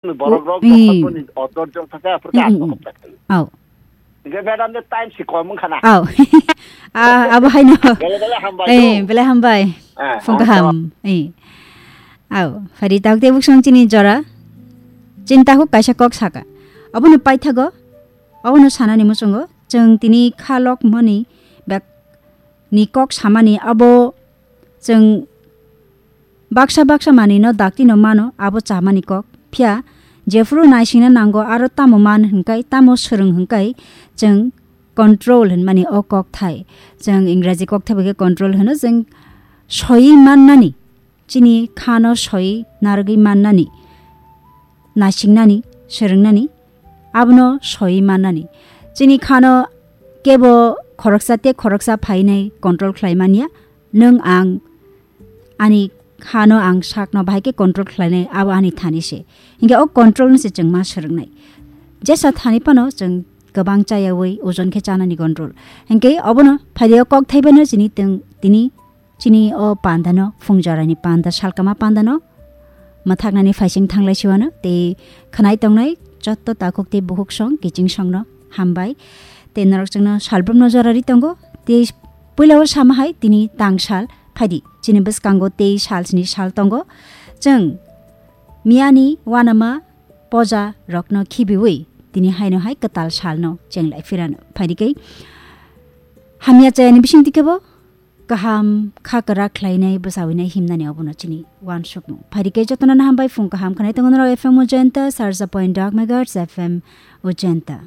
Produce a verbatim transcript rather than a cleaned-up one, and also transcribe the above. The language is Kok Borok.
Borok rok eh. Bokol boni odor jong thaka, aphur ka Mm, mm, mm. Ato hopta khayo. Au. Hingke madam de time si kom wngkha na. Au. Ah, abo haino. Bele bele hambai Eh, do. Bele hambai. Eh, Phung kaham. Eh. Au, phari tak de buksong chini jora. Chinta ko kaisa kok saka. Abono paithago. Abono sanani muchungo. Chwng tini khalok mani bek ni kok samani abo chwng baksa baksa manwino daktino mano, abo chamani kok. Phiya jephuru naisingna nango aro tamo man hwnkai, tamo swrwng hwnkai, chwng control hwnmani o kok thai. Chwng Ingraji kok thai bai khe control hwno, chwng soi mannani, chini khano soi narwgwi mannani, naisingnani, swrwngnani, abono soi mannani. Chini khano kebo khoroksa tei khoroksa phainai control khlai manya, nwng ang ani khano ang sakno bahai khe control khlainai, abo ani thani se. Hinkhe o control no se chwng ma swrwngnai. Jesa thani phano chwng kwbang chayawi ojon khe chanani control. Hinkhe obono phaidi o kok thaibano chini teng, tini, chini o pandano, phung jorani panda, salkama pandano, mwthaknani phaising thanglai siwano, tei khwnai tongnai jotto takhuk tei bukhuk song, kiching songno hambai. Tei norok chwngno salbrumno jorari tongo. Tei puila o sama hai tini tang sal phaidi. Chini bwskango tei sal sini sal tongo. Chwng miyani wanama poja rokno khibiwi tini haino hai kwtal salno chenglai phirano. Phaidi khe hamya chayani bising dikhe bo kaham kha kwra khlainai bwsawinai himnani obono chini wansukmung. Phaidi khe jotono hambai phung kaham khanai tongo norok F M Ujenta, sarsa point dok megahertz F M Ujenta.